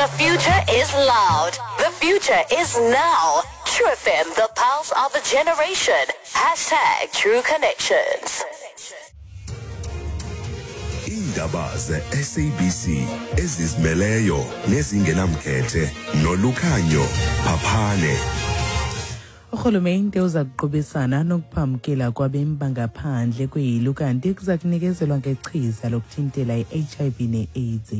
The future is loud. The future is now. True FM, the pulse of a generation. Hashtag True Connections. Iindaba ze-SABC ezizimeleyo nezingenamkhethe nolukhanyo Phaphane. Urhulumente uza kuqubisana nokuphamkela kwabemi bangaphandle kweli kanti kuza kunikezelwa ngechiza lokuthintela i-HIV ne-AIDS.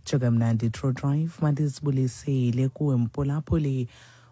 Tsho kamnandi True Drive, mandizibulisele kuwe mphulaphuli.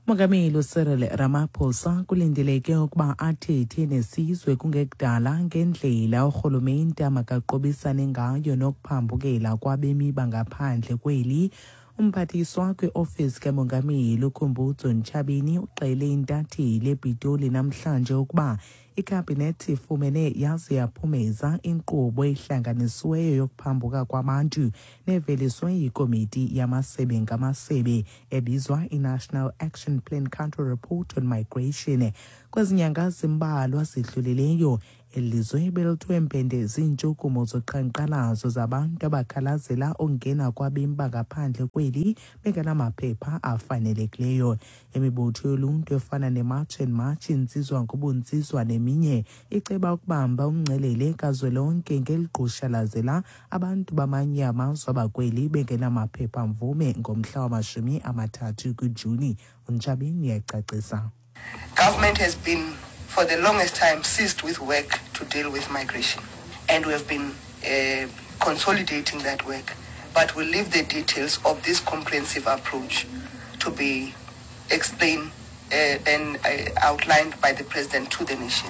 Umongameli uCyril Ramaphosa kulindeleke ukuba athethe nesizwe kungekudala ngendlela urhulumente amakaqobisane ngayo nokuphambukela kwabemi bangaphandle kweli. Umphathiswa kwiofisi kamongameli uKhumbudzo Ntshavheni uxele intatheli ePitoli namhlanje ukuba ikhabhinethi ifumene yaze yaphumeza inkqubo ehlanganisiweyo yokuphambuka kwabantu neveliswe yikomiti yamasebe ngamasebe ebizwa i-National Action Plan Country Report on Migration. Kwezi nyanga zimbalwa zidlulileyo, eli lizwe belithiwe mpende ziintshukumo zoqhankqalazo zabantu abakhalazela ukungena kwabemi bangaphandle kweli bengenamaphepha afanelekileyo. Imibutho yoluntu efana neMarch and March, Intsizwa ngobuntsizwa neminye iceba ukubamba umngcelele kazwelonke ngeligqushalazela abantu bamanye amazwe abakweli bengenamaphepha mvume ngomhla wama-30 kuJuni. UNtshavheni uyacacisa. Government has been, for the longest time, seized with work to deal with migration. And we have been consolidating that work. But we'll leave the details of this comprehensive approach to be explained and outlined by the President to the nation.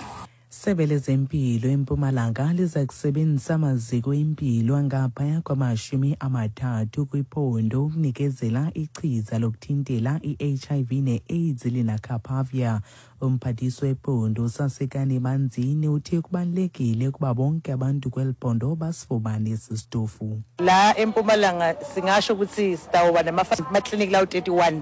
Sebe lezempilo eMpumalanga liza kusebenzisa amaziko empilo angaphaya kwama-30 kwiphondo ukunikezela ichiza lokuthintela i-HIV ne-AIDS lenacapavir. Umphathiswa wephondo uSasekani Manzini uthe kubalulekile ukuba bonke abantu kweli phondo basifumane esi sitofu. La eMpumalanga singasho ukuthi sitawuba namaklinikhi lawo 31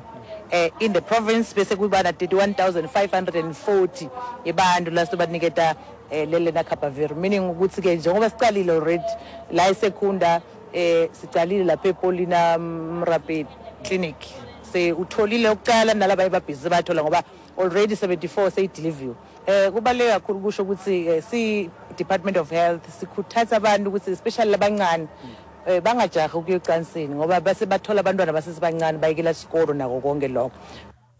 in the province, bese kuba na 31,540 abantu la sibaniketa lele lenacapavir, meaning ukuthi ke njengoba sicalile already la eSecunda, sicalile lapha ePaulina Mrape Clinic, se utholile ukucala nalaba ebabhizi bathola ngoba already 74 seyideliver. Kubaluleke kakhulu kusho ukuthi si Department of Health sikhuthaza abantu ukuthi, especially labancane, bangajahi ukuya ecansini ngoba base bathola abantwana basesebancane, bayekela isikolo nako konke lokho.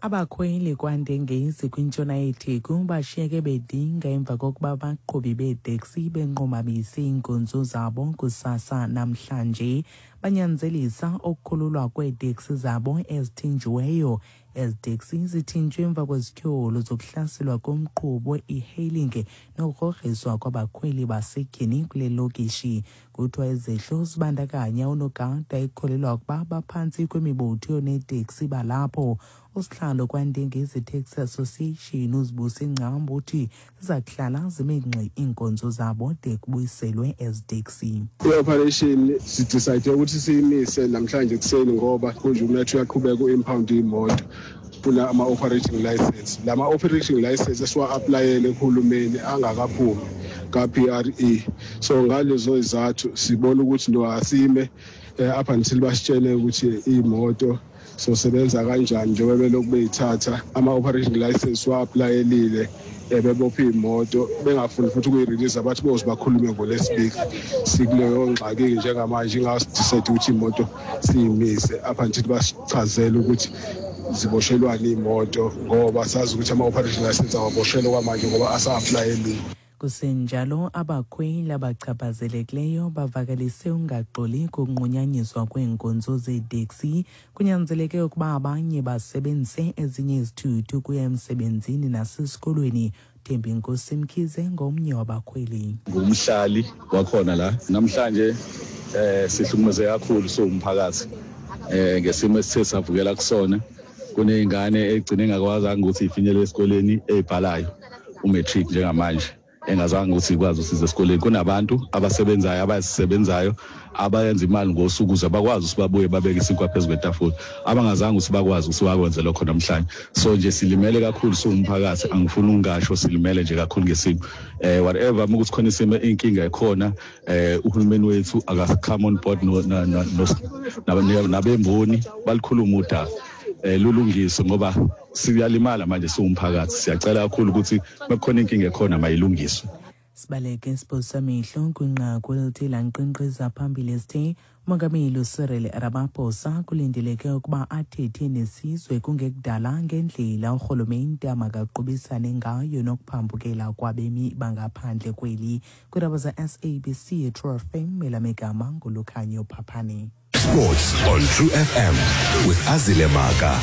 Abakhweli kwaNdengezi kwintshona yeTheku bashiyeke bedinga emva kokuba abaqhubi beeteksi benqumamise iinkonzo zabo kusasa namhlanje. Banyanzelisa ukukhululwa kweeteksi zabo ezithinjiweyo. Ezi teksi zithinjwe emva kwezityholo zokuhlaselwa komqhubi e-hailing nokugrogriswa kwabakhweli basetyhini kule lokishi. Kuthiwa izehlo zibandakanya unogada ekukholelwa ukuba baphantsi kwemibutho yooneteksi balapho. Usihlalo kwaNdengezi Taxi Association uZibusi Ngcambu uthi ziza kuhlala zime ngxi iinkonzo zabo de kubuyiselwe ezi teksi. I-operation sidecide ukuthi siyimise namhlanje ekuseni ngoba kunje umnethu uyaqhubeka u-impound imoto, funa ama-operating license. Lama-operating license esiwa-applyele kuhulumeni angakaphumi ka-PRE, so ngalezo izathu sibona ukuthi no, asime up until basitshele ukuthi imoto sosebenza kanjani, njengoba belokhu beyithatha ama-operation license wa-applyelile, bebopha iy'moto bengafuni futhi ukuyirelease, bathi boze bakhulume ngoLwesibili. Sikuleyo ngxaki-ke njengamanje, ingasidecide ukuthi iy'moto siyimise up until basichazele ukuthi ziboshelwane iy'moto, ngoba sazi ukuthi ama-operation license awaboshelwe kwamanje ngoba asa-applyeliwe. Kusenjalo, abakhweli abachaphazelekileyo bavakalise ungaxoli kokunqunyanyiswa kweenkonzo zeeteksi. Kunyanzeleke ukuba abanye basebenzise ezinye izithuthi ukuya emsebenzini nasesikolweni. Thembinkosi Mkhize ngomnye wabakhweli. Ngumhlali wakhona la. Namhlanje sihlukumeze kakhulu siwumphakathi ngesimo esithe savukela kusona. Kuney'ngane egcine engakwazanga ukuthi ifinyelele esikoleni, ey'bhalayo umatric njengamanje. Engazange ukuthi ikwazi usiza esikoleni. Kunabantu abasebenzayo, abazisebenzayo, abayenza imali ngosuku ukuze bakwazi ukuthi babuye babeke isinkwa phezu kwetafula, abangazange ukuthi bakwazi ukuthi bakwenze lokho namhlanje. So nje silimele kakhulu siwumphakathi, angifuni ukungasho, silimele nje kakhulu ngesimo. Whatever ukuthi khona isimo, inkinga ekhona, uhulumeni wethu aka-come on board no nabemboni, balikhuluma udaba, lulungiswe, ngoba siyalimala manje siwumphakathi. Siyacela kakhulu ukuthi makukhona inkinga ekhona, mayilungiswe. Sibaleke isiphosamehlo kwinqaku elithi lanqinqiza phambili esithe umongameli uCyril Ramaphosa kulindeleke ukuba athethe nesizwe kungekudala ngendlela urhulumente amakaqubisane ngayo nokuphambukela kwabemi bangaphandle kweli. Kwiindaba za-SABC True FM, elamegama nguLukhanyo Phaphane. Sports on True FM with Azile Maka.